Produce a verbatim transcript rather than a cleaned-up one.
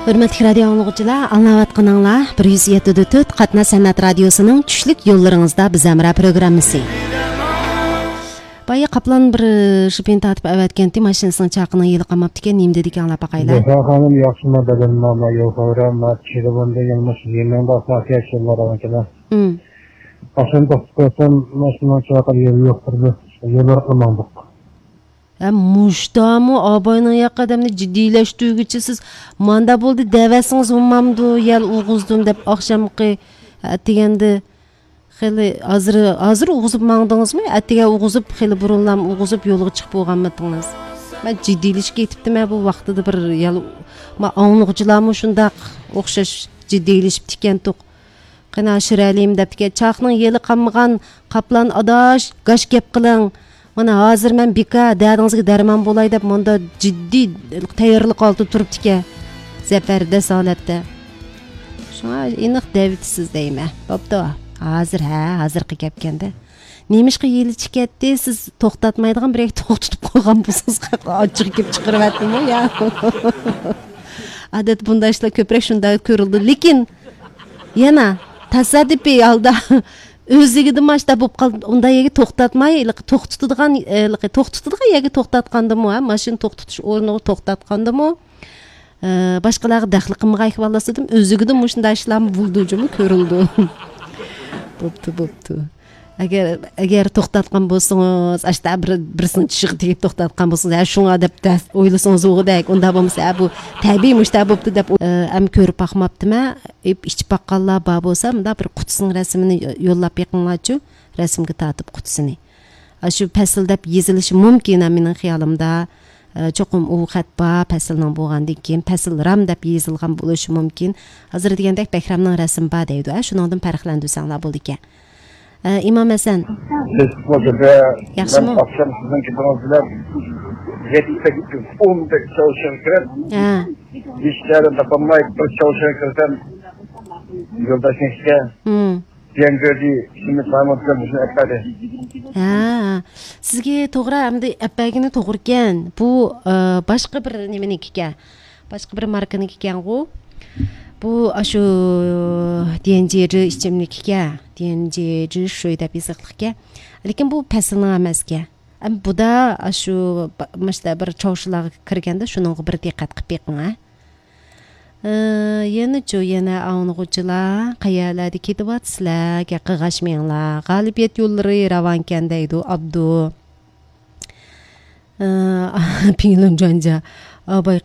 ھۆرمەتلىك رادىيو ئاڭلىغۇچىلار، ئاڭلاۋاتقىنىڭلار بىر يۈز يەتتە دۆتتۆت قاتناش سەنئەت رادىيوسىنىڭ چۈشلۈك يوللىرىڭىزدا بىز ھەمراھ پروگراممىسى. بايا قاپلان بىر شىپىنى تارتىپ ئەۋەتكەنتى، ماشىنىسىنىڭ چاقىنىڭ يېلى قالماپتىكەن، نېمە دېدىكەن ئاڭلاپ باقايلى. زەھرا خانىم، ياخشىما بەدەنما، ما يول خەۋرە، ما چىلىۋوندىن يالماش يېمىڭدا ساقىيە چىللار ئەۋەتكەن. مم. ماشىنا توختىتىپ قويسام، ماشىنىنىڭ چاقى يول يوق، بىر يوللار قىلماڭدۇق. ھە، مۇشتامۇ ئاباينىڭ ياقى ئادەمنى جىددىيلەشتۈرگۈچى سىز. ماندا بولدى دەۋەتسىڭىز بولمامدۇ، يەل ئۇغۇزدۇم دەپ ئاخشامقى، ئەتىگەندە خېلى ھازىر، ھازىر ئۇغۇزۇپ ماڭدىڭىزمۇ؟ ئەتىگەن ئۇغۇزۇپ، خېلى بۇرۇنلام ئۇغۇزۇپ يولغا چىقىپ بولغانمىدىڭىز؟ مەن جىددىيلىشىپ كېتىپتىمەن بۇ ۋاقتىدا بىر يەل، ما ئاڭلىغۇچىلارمۇ شۇنداق ئوخشاش جىددىيلىشىپتىكەنتۇق. قېنى، شىرەلىيىم دەپتىكەن، چاقنىڭ يېلى قالمىغان قاپلان ئاداش، گاش گەپ قىلىڭ. مانا ھازىر مەن بىكار، دەردىڭىزگە دەرمان بولاي دەپ مۇندا جىددىي تەييارلىق ھالىتىدە تۇرۇپتىكەن. زەبەردەس ھالەتتە. شۇڭا ئېنىق دەۋېتىسىز دەيمەن. بوپتۇ. ھازىر، ھە، ھازىرقى گەپكەندە. نېمىشقا يېلى چىكەتتى؟ سىز توختاتمايدىغان بىر يەرگە توختىتىپ قويغان بولسىڭىز، ئاچچىقى كېلىپ چىقىرىۋەتتىمۇ يا؟ ئادەتتە بۇنداق ئىشلار كۆپرەك شۇنداق كۆرۈلىدۇ. لېكىن يەنە تاسادىپىي ھالدا ئۆزلۈكىدىن ماشتا بولۇپ قالدى. ئۇنداق يەرگە توختاتماي، ھېلىقى توختىتىدىغان، ھېلىقى توختىتىدىغان يەرگە توختاتقاندىمۇ، ھە، ماشىنا توختىتىش ئورنىغا توختاتقاندىمۇ، ئە، باشقىلارغا دەخلى قىلمىغاي ئەھۋاللار دېدىم، ئۆزلۈكىدىن مۇشۇنداق ئىشلارمۇ بولىدۇ جۇمۇ، كۆرۈلىدۇ. بوپتۇ، بوپتۇ. ئەگەر، ئەگەر توختاتقان بولسىڭىز، ئاشتا بىر، بىرسىنىڭ چىشىغا تېگىپ توختاتقان بولسىڭىز، ھە، شۇڭا دەپ دەس-، ئويلىسىڭىز ئۇغۇدەك، ئۇنداق بولمىسا، ھە، بۇ تەبىئىي مۇشۇنداق بوپتۇ دەپ، ئە، ئەم كۆرۈپ باقماپتىمەن. ئېپ ئىچىپ باققانلار بار بولسا، مۇنداق بىر قۇتىسىنىڭ رەسىمىنى يوللاپ بېقىڭلارچۇ، رەسىمگە تارتىپ قۇتىسىنى. ئاشۇ پەسىل دەپ يېزىلىشى مۇمكىن، ھە، مېنىڭ خىيالىمدا. ئە، چوقۇم ئۇ خەت بار، پەسىلنىڭ بولغاندىن كېيىن، پەسىل رام دەپ يېزىلغان بولۇشى مۇمكىن. ھازىر دېگەندەك بەھرامنىڭ رەسىمى بار دەيدۇ، ھە، شۇنىڭدىن پەرقلەندۈرسەڭلار بولىدىكەن. ئە، ئىمام ھەسەن. بىز بۇ يەردە ياخشىمۇ؟ مەن ئاخشام سىزنىڭ گېپىڭىز بىلەن يەتتە سەككىز ئون بەش چاۋشيەنگە كىرىپ، ھە، ھېچ يەردىن تاپالماي بىر چاۋشيەنگە كىرسەم، يولداشنىڭ ئىشىكى، ھىم، جيەنگۆدى شىمىت مايمۇن كۆرۈنۈشىنى ئەپەردى. ھە، سىزگە توغرا، ئەمدى ئەپەرگىنى توغرىكەن. بۇ، ئە، باشقا بىر نېمىنىڭكىكەن. باشقا بىر ماركىنىڭكىكەنغۇ. بۇ ئاشۇ ديەنجىرى ئىچىملىكىكەن. ديەنجىرى شۇي دەپ يېزىقلىقكەن. لېكىن بۇ پەسىلنىڭ ئەمەسكەن. ئەم، بۇدا ئاشۇ با-، مۇشتا بىر چاۋشيەنلارغا كىرگەندە شۇنىڭغا بىر دىققەت قىلىپ بېقىڭ، ھە. ئى، يەنىچۇ، يەنە ئاڭلىغۇچىلار، قەيەرلەردە كېتىۋاتىسىلەر؟ گەپ قىلغاچمىڭلار. غالىبىيەت يوللىرى راۋانكەن دەيدۇ، ئابدۇ. ئى، پىڭلۇن جۇەنجيا. ئابايقى